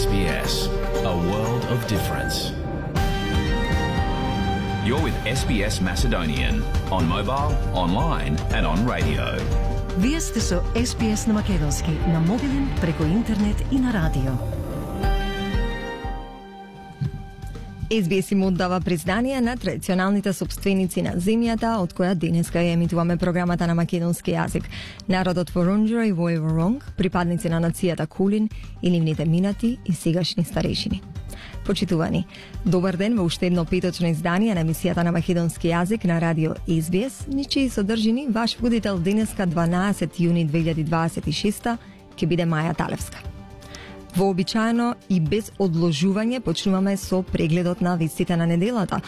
SBS, a world of difference. You're with SBS Macedonian on mobile, online and on radio. Вие сте со SBS на македонски, на мобилен, преку интернет и на радио. SBS им оддава признание на традиционалните собственици на земјата, од која денеска ја емитуваме програмата на македонски јазик. Народот Воронџора и Војворонг, припадници на нацијата Кулин и нивните минати и сегашни старешини. Почитувани, добар ден во уште едно петочно издание на емисијата на македонски јазик на радио SBS, ничии содржини ваш водител денеска 12 јуни 2026 ќе биде Маја Талевска. Вообичаено и без одложување почнуваме со прегледот на вестите на неделата,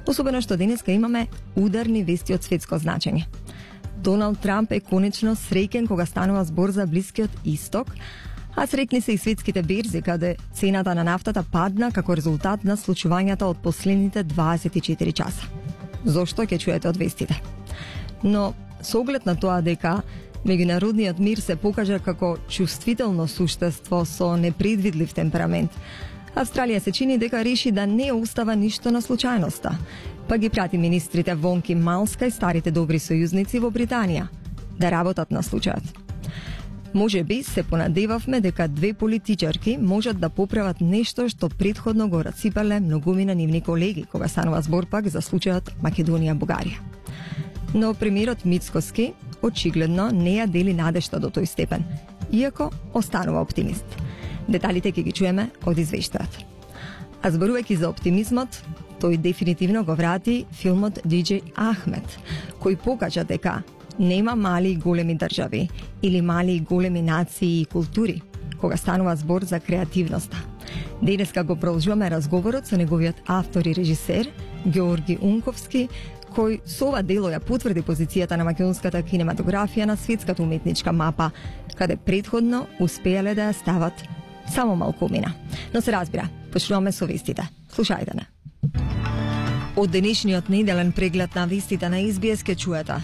особено што денеска имаме ударни вести од светско значење. Доналд Трамп е конечно среќен кога станува збор за Блискиот Исток, а среќни се и светските берзи каде цената на нафтата падна како резултат на случувањата од последните 24 часа. Зошто ќе чуете од вестите? Но со оглед на тоа дека меѓународниот мир се покажа како чувствително суштество со непредвидлив темперамент, Австралија се чини дека реши да не остава ништо на случајноста, па ги прати министрите Вонки Малска и старите добри сојузници во Британија да работат на случајот. Може би се понадевавме дека две политичарки можат да поправат нешто што претходно го расипале многумина нивни колеги кога станува збор пак за случајот Македонија-Бугарија. Но премиерот Мицкоски очигледно не ја дели надежта до тој степен, иако останува оптимист. Деталите ќе ги чуеме од извештајот. А зборувајќи за оптимизмот, тој дефинитивно го врати филмот DJ Ахмед, кој покажа дека нема мали и големи држави или мали и големи нации и култури, кога станува збор за креативноста. Денеска го продолжуваме разговорот со неговиот автор и режисер Георги Унковски, кој со ова дело ја потврди позицијата на македонската кинематографија на светската уметничка мапа, каде претходно успеале да ја стават само малкумина. Но се разбира, почнуваме со вестите. Слушајте не. Од денешниот неделен преглед на вестите на SBS ке чуете.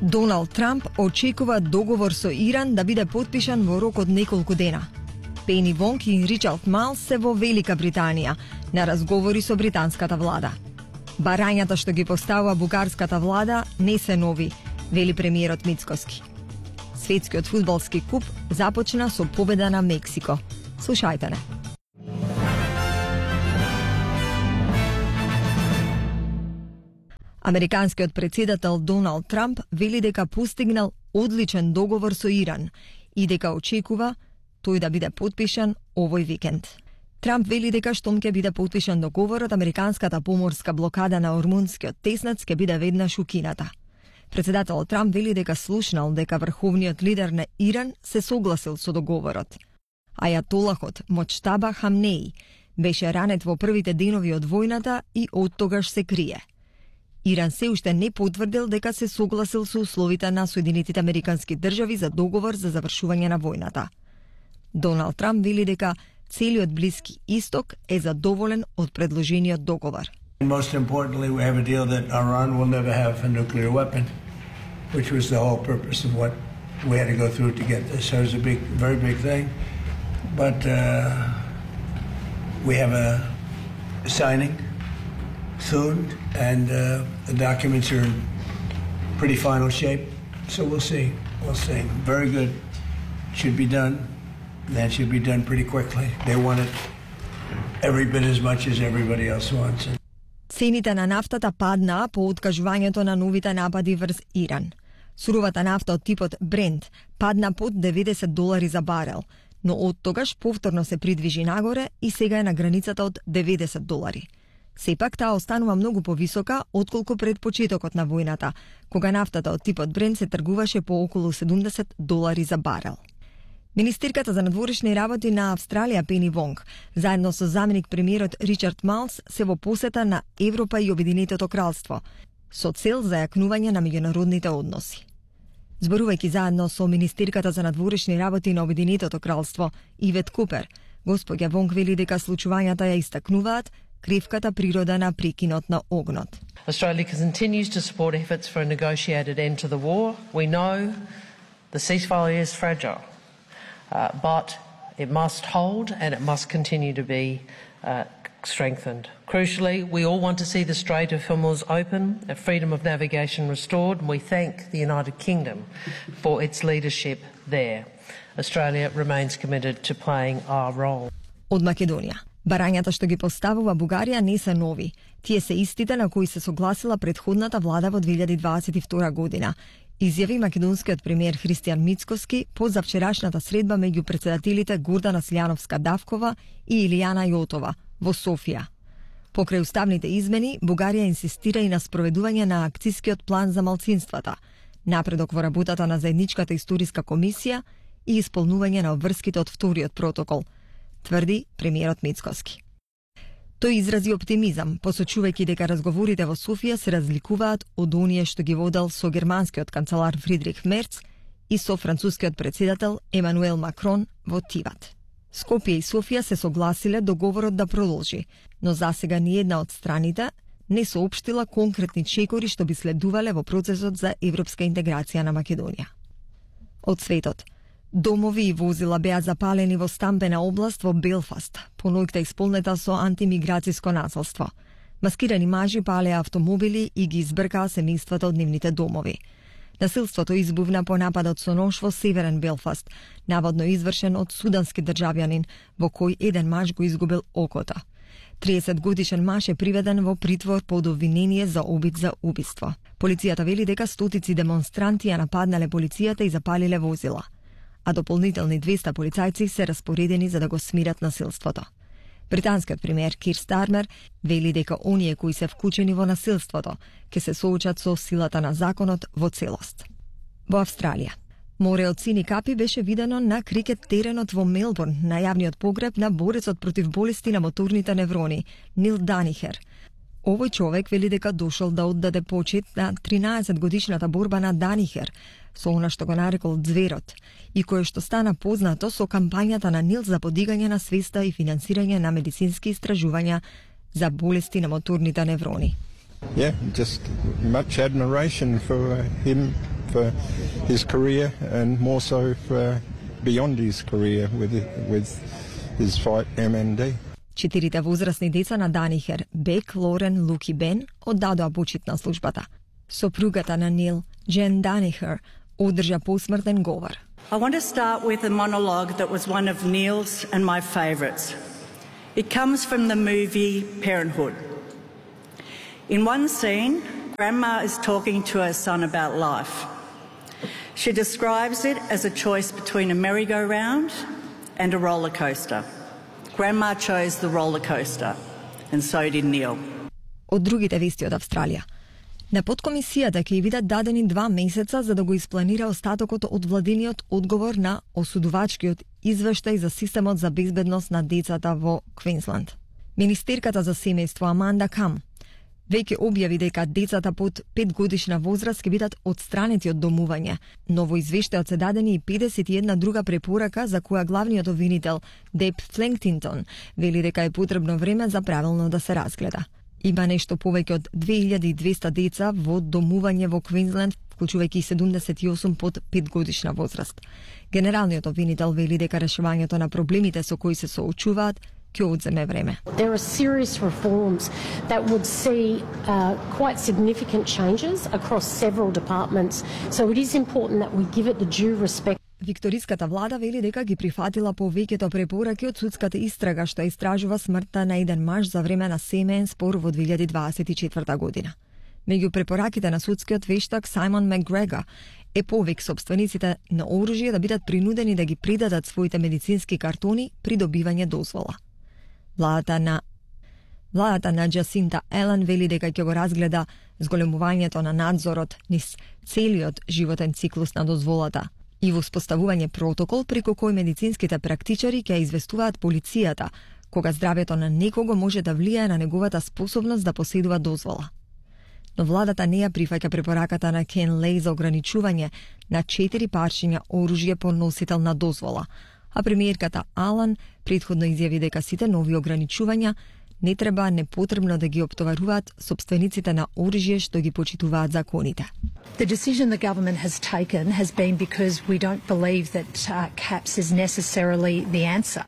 Доналд Трамп очекува договор со Иран да биде потпишан во рок од неколку дена. Пени Вонг и Ричард Малс се во Велика Британија на разговори со британската влада. Барањата што ги поставува бугарската влада не се нови, вели премиерот Мицкоски. Светскиот фудбалски куп започна со победа на Мексико. Слушајте не. Американскиот председател Доналд Трамп вели дека постигнал одличен договор со Иран и дека очекува тој да биде потпишан овој викенд. Трамп вели дека штом ќе биде потпишан договорот, американската поморска блокада на Ормунскиот теснец ќе биде веднаш укината. Председателот Трамп вели дека слушнал дека врховниот лидер на Иран се согласил со договорот. Ајатолахот Моџтаба Хамнеи беше ранет во првите денови од војната и оттогаш се крие. Иран се уште не потврдил дека се согласил со условите на Соединетите Американски држави за договор за завршување на војната. Доналд Трамп вели дека целиот Блиски Исток е задоволен од предложениот договор. Most importantly, we have a deal that Iran will never have a nuclear weapon, which was the whole purpose of what we had to go through to get this. So it was a very big thing. But we have a signing soon, and the documents are in pretty final shape. So we'll see. We'll see. Very good. Should be done. That should be done pretty quickly. They want it every bit as much as everybody else wants it. Цените на нафтата паднаа по откажувањето на новите напади врз Иран. Суровата нафта од типот Брент падна под $90 за барел, но од тогаш повторно се придвижи нагоре и сега е на границата од $90. Сепак таа останува многу повисока отколку пред почетокот на војната, кога нафтата од типот Брент се тргуваше по околу $70 за барел. Министерката за надворешни работи на Австралија Пени Вонг, заедно со заменик премиерот Ричард Малс, се во посета на Европа и Обединетото кралство, со цел за јакнување на меѓународните односи. Зборувајќи заедно со министерката за надворешни работи на Обединетото кралство Ивет Купер, госпоѓа Вонг вели дека случувањата ја истакнуваат кревката природа на прекинот на огнот. Australia continues to support efforts for a negotiated end to the war. We know the ceasefire is fragile, but It must hold and it must continue to be strengthened. Crucially, we all want to see the Strait of Hormuz open, freedom of navigation restored, and we thank the United Kingdom for its leadership there. Australia remains committed to playing our role. Од Македонија. Барањата што ги поставува Бугарија не се нови. Тие се истите на кои се согласила претходната влада во 2022 година. Изјави македонскиот премиер Христијан Мицкоски по завчерашната средба меѓу претседателите Гордана Силјановска-Давкова и Илијана Јотова во Софија. Покрај уставните измени, Бугарија инсистира и на спроведување на акцискиот план за малцинствата, напредок во работата на заедничката историска комисија и исполнување на обврските од вториот протокол, тврди премиерот Мицкоски. Тој изрази оптимизам, посочувајќи дека разговорите во Софија се разликуваат од оние што ги водел со германскиот канцелар Фридрих Мерц и со францускиот претседател Емануел Макрон во Тиват. Скопје и Софија се согласиле договорот да продолжи, но засега ниедна од страните не соопштила конкретни чекори што би следувале во процесот за европска интеграција на Македонија. Од светот. Домови и возила беа запалени во стамбена област во Белфаст, по ноќта исполнета со антимиграцијско насилство. Маскирани мажи палеа автомобили и ги избркаа семејствата од нивните домови. Насилството избувна по нападот со нож во северен Белфаст, наводно извршен од судански државјанин, во кој еден маж го изгубил окото. 30-годишен маж е приведен во притвор под обвинение за обид за убиство. Полицијата вели дека стотици демонстранти ја нападнале полицијата и запалиле возила, а дополнителни 200 полицајци се распоредени за да го смират насилството. Британскиот премиер Кир Стармер вели дека оние кои се вклучени во насилството ќе се соочат со силата на законот во целост. Во Австралија. Море од сини капи беше видено на крикет теренот во Мелбурн на јавниот погреб на борецот против болести на моторните неврони, Нил Данихер. Овој човек вели дека дошол да оддаде почит на 13-годишната борба на Данихер, со она што го нарекол зверот, и кое што стана познато со кампањата на Нил за подигање на свеста и финансирање на медицински истражувања за болести на моторните неврони. Yeah, just much admiration for him, for his career, and more so for beyond his career with his fight MND. Четирите возрастни деца на Данихер, Бек, Лорен, Лук и Бен, оддадоа почит на службата. Сопругата на Нил, Джен Данихер, одржа посмртен говор. I want to start with a monologue that was one of Neil's and my favourites. It comes from the movie Parenthood. In one scene, Grandma is talking to her son about life. She describes it as a choice between a merry-go-round and a roller coaster. Grandma chose the roller coaster, and so did Neil. Од другите вести од Австралија. На подкомисијата ќе видат дадени 2 месеца за да го испланира остатокот од владиниот одговор на осудувачкиот извештај за системот за безбедност на децата во Квинсланд. Министерката за семејство Аманда Кам веќе објави дека децата под 5 годишна возраст ќе бидат отстранети од домување, но во извештајот се дадени и 51 друга препорака за која главниот обвинител Деп Фленктинтон вели дека е потребно време за правилно да се разгледа. Има нешто повеќе од 2200 деца во домување во Квинсленд, вклучувајќи 78 под 5 годишна возраст. Генералниот обвинител вели дека решавањето на проблемите со кои се соочуваат ќе одземе време. There are serious reforms that would see quite significant changes across several departments, so it is important that we give it the due respect. Викториската влада вели дека ги прифатила повеќето препораки од судската истрага што истражува смртта на еден маж за време на семеен спор во 2024 година. Меѓу препораките на судскиот вештак Сајмон Макгрегор е повик собствениците на оружје да бидат принудени да ги придадат своите медицински картони при добивање дозвола. Владата на Джасинта Елен вели дека ќе го разгледа зголемувањето на надзорот низ целиот животен циклус на дозволата и воспоставување протокол преку кој медицинските практичари ќе известуваат полицијата кога здравјето на некого може да влијае на неговата способност да поседува дозвола. Но владата не ја прифаќа препораката на Кен Леј за ограничување на 4 парчиња оружје по носител на дозвола, а премиерката Алан претходно изјави дека сите нови ограничувања не треба непотребно да ги оптоваруваат собствениците на оружје што ги почитуваат законите. The decision the government has taken has been because we don't believe that caps is necessarily the answer.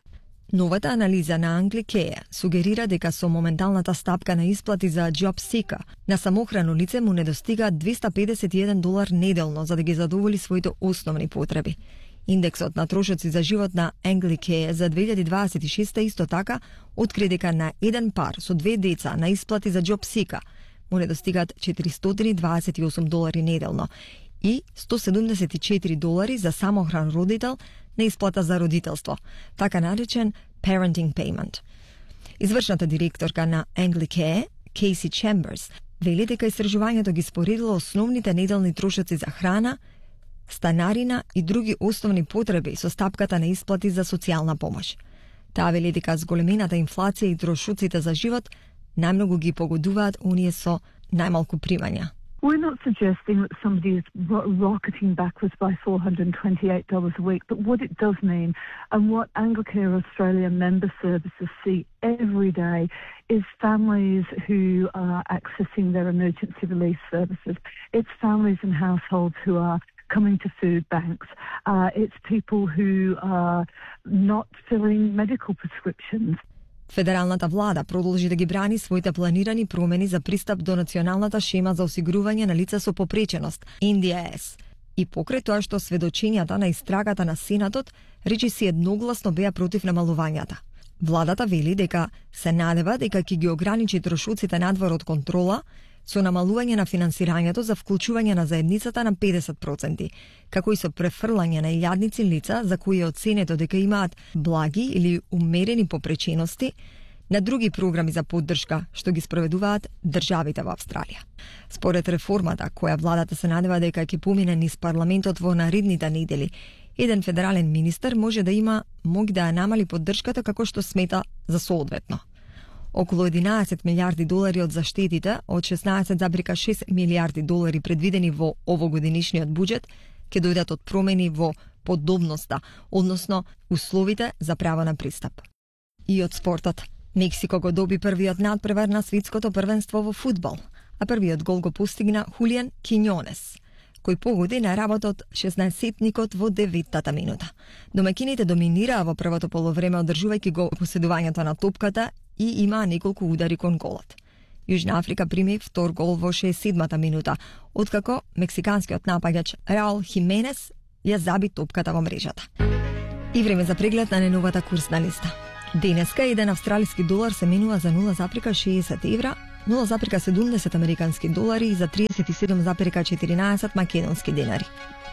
Новата анализа на Англи Кеја сугерира дека со моменталната стапка на исплати за JobSeeker на самохрано лице му недостига $251 неделно за да ги задоволи своите основни потреби. Индексот на трошоци за живот на Англи Кеја за 2026 исто така откри дека на еден пар со 2 деца на исплати за JobSeeker му недостигаат $428 неделно и $174 за самохран родител на исплата за родителство, така наречен parenting payment. Извршната директорка на Англи Кеја, Кейси Чемберс, вели дека истражувањето ги споредило основните неделни трошоци за храна, станарина и други основни потреби со стапката на исплати за социјална помош. Таа вели дека зголемената инфлација и трошоците за живот најмногу ги погодуваат оние со најмалку примања. We're not suggesting that somebody is rocketing backwards by $428 a week, but what it does mean, and what Anglicare Australia member services see every day, is families who are accessing their emergency relief services. It's families and households who are coming to food banks. It's people who are not filling medical prescriptions. Федералната влада продолжи да ги брани своите планирани промени за пристап до националната шема за осигурување на лица со попреченост, NDIS. И покрај тоа што сведочењата на истрагата на Сенатот речиси едногласно беа против намалувањата. Владата вели дека се надева дека ќе ги ограничи трошоците надвор од контрола со намалување на финансирањето за вклучување на заедницата на 50%, како и со префрлање на илјадници лица за кои е оценето дека имаат благи или умерени попречености на други програми за поддршка што ги спроведуваат државите во Австралија. Според реформата, која владата се надева дека ќе помине низ парламентот во наредните недели, еден федерален министер може да има моќ да ја намали поддршката како што смета за соодветно. Околу $11 милиарди од заштетите од $16,6 милиарди предвидени во овогодинишниот буџет ќе дојдат од промени во подобноста, односно условите за право на пристап. И од спортот. Мексико го доби првиот надпревар на светското првенство во фудбал, а првиот гол го постигна Хулиан Киньонес, кој погоди на работа од 16-никот во 9-тата минута. Домакините доминираа во првото полувреме одржувајќи го поседувањето на топката и има неколку удари кон голот. Јужна Африка прими втор гол во 67-та минута, откако мексиканскиот напаѓач Раул Хименес ја заби топката во мрежата. И време за преглед на неновата курсна листа. Денеска еден австралиски долар се менува за 0,60 евра, 0,70 американски долари и за 37,14 македонски денари.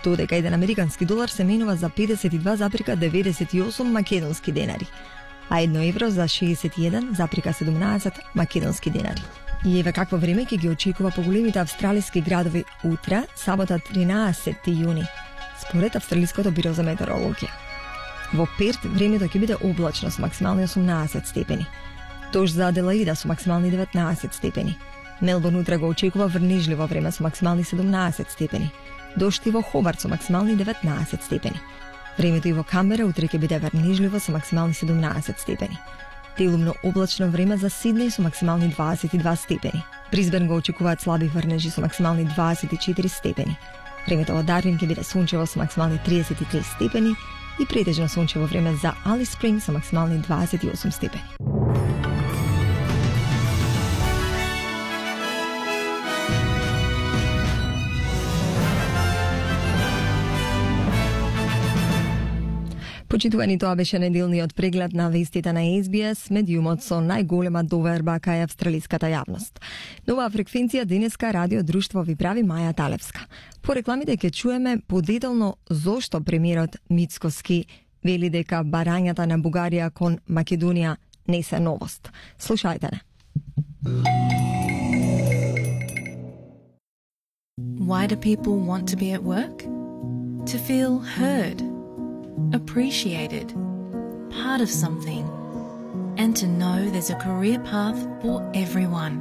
Додека еден американски долар се менува за 52,98 македонски денари, а 1 евро за 61,17 македонски денари. И еве какво време ќе ги очекува поголемите австралиски градови утре, сабота 13 јуни, според Австралиското биро за метеорологија. Во Перт времето ќе биде облачно со максимални 18 степени. Дожд за Аделаида со максимални 19 степени. Мелбурн утре го очекува врнежливо време со максимални 17 степени. Дожд и во Хобарт со максимални 19 степени. Времето и во Камбера утре ќе биде врнежливо со максимални 17 степени. Делумно облачно време за Сиднеј со максимални 22 степени. Брисбен го очекуваат слаби врнежи со максимални 24 степени. Времето во Дарвин ќе биде сончево со максимални 33 степени и претежно сончево време за Алис Спринг со максимални 28 степени. Почитувани, тоа беше неделниот преглед на вестите на SBS, медиумот со најголема доверба кај австралиската јавност. Нова фреквенција денеска Радио Друштво ви прави Маја Талевска. По рекламите ќе чуеме подетелно зошто премиерот Мицкоски вели дека барањата на Бугарија кон Македонија не се новост. Слушајте не. Why do people want to be at work? To feel heard, appreciated, part of something, and to know there's a career path for everyone.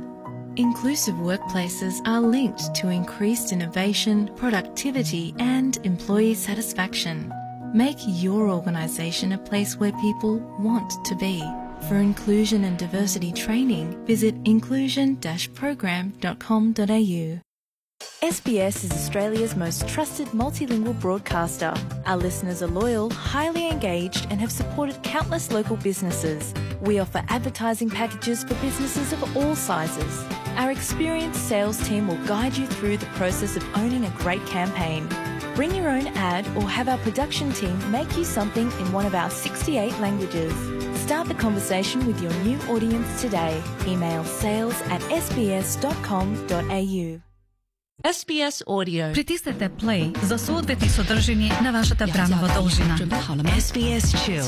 Inclusive workplaces are linked to increased innovation, productivity, and employee satisfaction. Make your organisation a place where people want to be. For inclusion and diversity training, visit inclusion-program.com.au. SBS is Australia's most trusted multilingual broadcaster. Our listeners are loyal, highly engaged, and have supported countless local businesses. We offer advertising packages for businesses of all sizes. Our experienced sales team will guide you through the process of owning a great campaign. Bring your own ad or have our production team make you something in one of our 68 languages. Start the conversation with your new audience today. Email sales@sbs.com.au. SBS Audio. Притиснете play за соодветни содржини на вашата бранова должина. SBS Chill.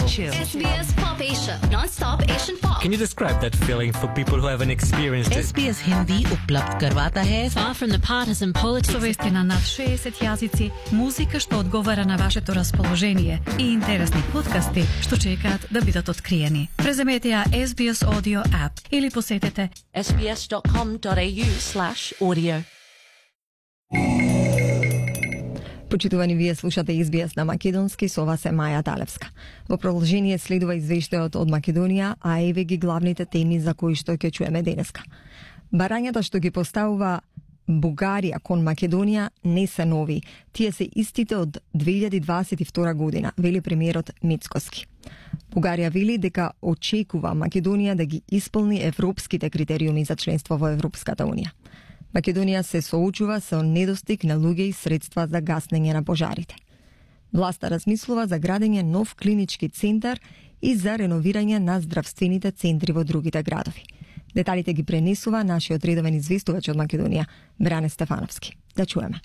SBS Pop Asia. Non-stop Asian pop. Can you describe that feeling for people who haven't experienced it? SBS Hindi उपलब्ध करवाता है far from the partisan politics. Со вести на над 60 јазици, музика што одговара на вашето расположение и интересни подкасти што чекаат да бидат откриени. Преземете ја SBS Audio app или посетете sbs.com.au/audio. Почитувани, вие слушате SBS на македонски, со вас е Маја Талевска. Во продолжение следува извештајот од Македонија, а еве ги главните теми за кои што ќе чуеме денеска. Барањата што ги поставува Бугарија кон Македонија не се нови. Тие се истите од 2022 година, вели премиерот Мицкоски. Бугарија вели дека очекува Македонија да ги исполни европските критериуми за членство во Европската Унија. Македонија се соочува со недостиг на луѓе и средства за гаснење на пожарите. Власта размислува за градење нов клинички центар и за реновирање на здравствените центри во другите градови. Деталите ги пренесува нашиот редовен известувач од Македонија, Бране Стефановски. Да чуеме.